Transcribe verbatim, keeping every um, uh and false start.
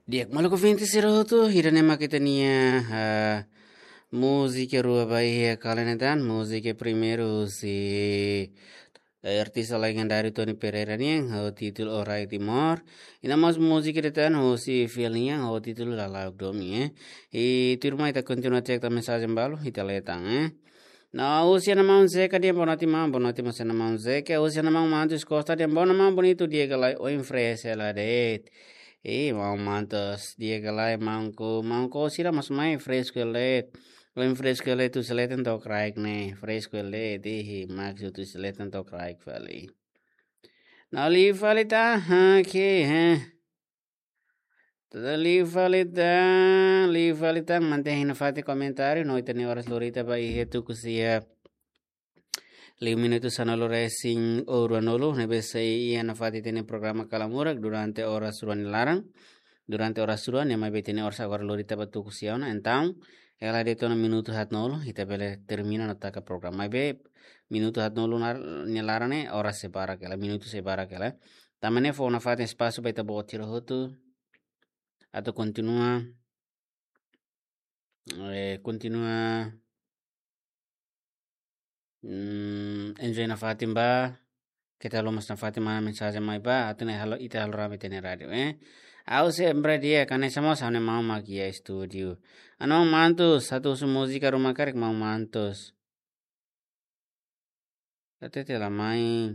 Di'ak, maluk ouvinte sira hotu, ida-ne'e mak ita-nia, ah, múzika rua ba iha kala ne'e tan, múzika primeiru husi, eh, artista legendáriu Tony Pereira nian, ho títulu Orai Timor. I naran mós múzika ida tan husi Fiel nian, ho títulu Lalauk Domin, eh. I tuirmai ita kontinua cek tan mensajen balu, ita lee tan, eh. No, husi maun Zeka dehan boa noite maun, boa noite mós ba maun Zeka, husi maun Mantus Costa dehan boa noite maun, bonita di'ak ka lae, oin fresh hela de'it. Eh, maun Mantus, di'ak ka lae maun, ko, maun ko sira mós mai fresh hela de'it. Oin fresh hela de'it, tuir leten to'o kraik ne'e, fresh hela de'it, eh, maksud tuir leten to'o kraik fali. No, liu fali tan, ha, ke, ha. Tuda liu fali tan, liu fali tan, mantein iha nafatin komentáriu, no ita-nia oras lori tiha ba iha tuku sia liu minutu sanulu-resin-rua, ne'ebé sei iha nafatin ita-nia programa Kala Murak durante oras rua nia laran. Durante oras rua ne'e maibé ita-nia oras agora lori tiha ba tuku sia ona, entaun, hela de'it ona minutu haatnulu, ita bele termina no taka programa. Maibé minutu haatnulu nar-, nia laran ne'e oras sei barak hela, minutu sei barak hela. Tanba ne'e fó nafatin espasu ba ita-boot sira hotu atu kontinua, eh, kontinua, mm, enjoy nafatin ba, keta haluha mós nafatin manda mensajen mai ba, atu nune'e halo, ita halo rame ita-nia rádiu, eh. Ha'u sempre di'ak, hanesan mós ha'u-nia maun mak iha estúdiu. Anu maun Mantus, atu husu múzika ruma karik maun Mantus. Hatete la mai.